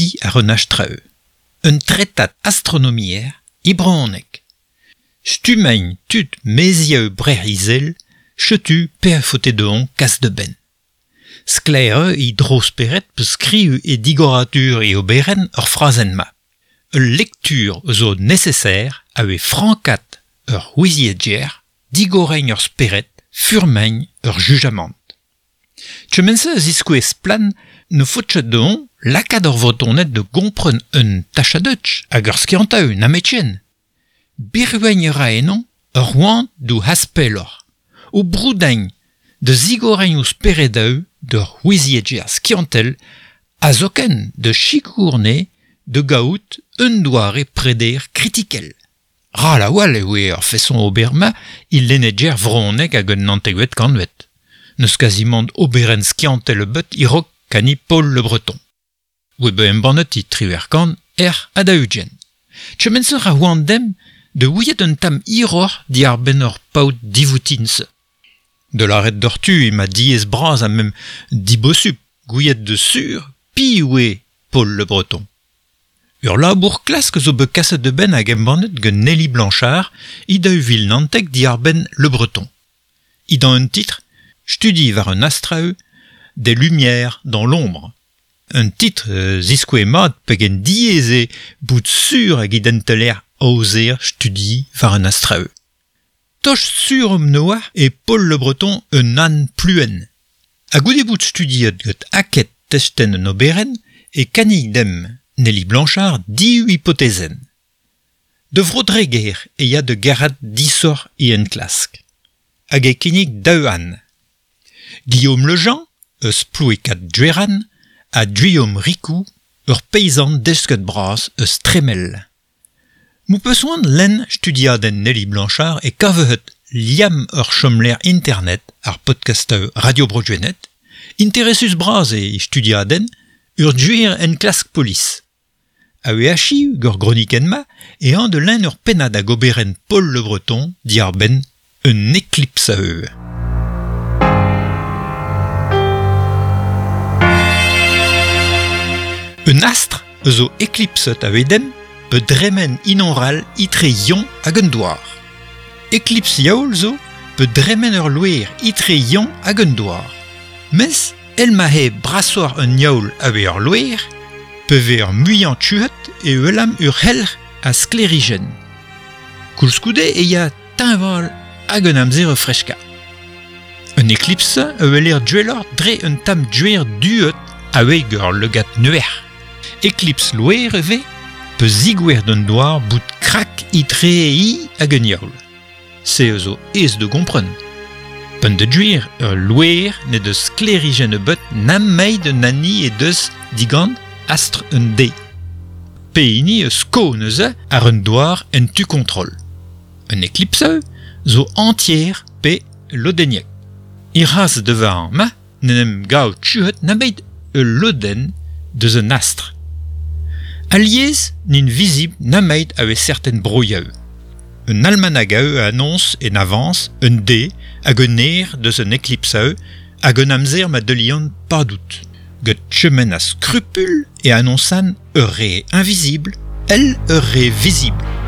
studi ar un astreu. Un tretat astronomier e brezhoneg. Stummañ tud maezioù Breizh-Izel, setu pe faote dezhañ kas da benn. Sklaer eo e dro-spered pe skriv e digoradur e oberenn ur frazenn-mañ. Ul lektur zo neseser a vez frankat ur ouiziegezh, digoreiñ ur spered, furmeiñ ur jujamant. Kement-se a ziskouez splann ne faot ket dezhañ lakaat ar Vretoned da gompren un tachadeuch hag ur skiantaoù nemetken. Birviñ a ra ennañ ur c'hoant d'o aspelloc'h, o broudañ da zigoreiñ o speredoù d'ur ouiziegezh skiantel ha zoken da sikour anezhe da gaout un doare preder kritikel. Ral a-walc'h e oa ar feson ober-mañ e lennegezh vrezhonek hag an naontekvet kantved. N'eus kazimant oberenn skiantel ebet e-raok kani Paul Le Breton. Oa bet embannet e 1800 ec'h ha 40. Kement-se a c'hoant demp da ouiet un tamm hiroc'h diàr-benn ur paotr divoutin-se. Da lâret doc'htu emañ diaes-bras ha mem dibosupl gouiet da sur piv eo Paul Le Breton. Ur labour klask zo bet kaset da benn hag embannet gant Nelly Blanchard e 2019 diàr-benn Le Breton. Dindan un titr Studi war un astraoù Des lumières dans l'ombre. Un titr ziskouez mat pegen diaes eo bout sur hag identeler aozer studi war un astraoù. Tost sur omp noazh eo Paul Le Breton un anv pluenn. Ha goude bout studiet gant aked testenn un oberenn e kannig demp Nelly Blanchard div hipotezenn. Da Vro-Dreger e ya da gerc'hat disoc'h e enklask. Hag e kinnig daou anv. Guillaume Le Jean, eus Plouekad-Gwerann, ha Guillaume Ricou, ur peizant desket-bras eus Tremel. M'ho peus c'hoant lenn studiadenn Nelly Blanchard e kavehet liamm ur chomlec'h internet ar podkastoù Radio Bro Gwened, interesus-bras eo e studiadenn, ur gwir enklask polis. A-wechoù gant gronikenn-mañ eh an da lenn ur pennad ag oberenn Paul Le Breton diàr-benn un eklips eo. Un astr zo eklipset a-wedenn pe dremen unan etre Yon hag an douar. Eklips Yaol zo pe dremen ur loer etre Yon hag an douar. Mes el ma eo brasoc'h un yaol a-wech ur loer, pe vez ur muiañ tuet e welamp ur c'helc'h a sklêrijenn. Koulskoude e ya teñval hag un amzer o freskañ. Un eklips a weler gwelloc'h dre un tamm gwer duet a-wech ur lagad neuer. Eklips loer e vez pe zigouer d'an douar bout krak etre hi hag un yaol. Se a zo aes da gompren. P'en da gwir ul loer n'he deus sklêrijenn ebet nemet un hini he deus digant astr un deiz. Pehini eus sko neuze àr un douar en tu kontrol. Un eklipse zo entier pe lodenniek. E-ras devañ ma n'en em gav tuet nemet ul lodenn deus un astr. Alies n'int vizibl nemet a vez serten broioù. Un almanag a annonce en avance un dé hag un eur deus un eklipse hag un amzer ma deulian padout. Get chemen a scrupule e annonçan ur re invisible, el ur re visible.